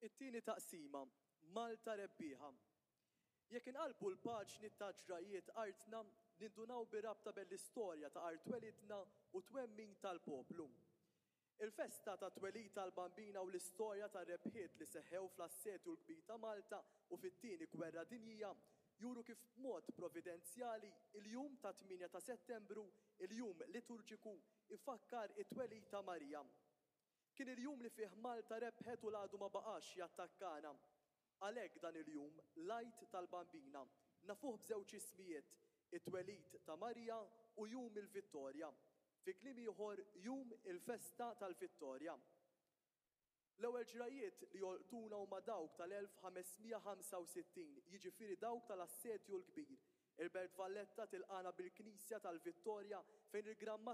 It-tieni taqsima, Malta rebbieħa. Jekk inqallbu l-paġni ta' ġrajjiet artna, nindunaw bir-rabta bejn l-istorja ta' art twelidna u t-twemmin tal-poplu. Il-festa tat-twelid tal-Bambina u l-istorja tar-rebħiet li seħħew fl-Assedju l-Kbir ta' Malta u fit-Tieni Gwerra Dinjija juru kif b'mod providenzjali il-jum tat-tmienja ta' Settembru, il-jum liturġiku, ifakkar it-twelid ta' Marija. Kien il-jum li fih Malta rebħet u l-għadu ma baqax jattakkana. Għalhekk dan il-jum, l-Għid tal-Bambina, nafuh b'żewġ ismijiet, it-twelid ta' Marija u Jum il-Vittorja. Fi kliem ieħor, Jum il-Festa tal-Vittorja. L-ewwel ġrajjiet li jolqtuna huma dawk tal-1565, jiġifieri dawk tal-Assedju l-Kbir. Il-Belt Valletta tilqagħna bil-Knisja tal-Vittorja fejn il-Gran.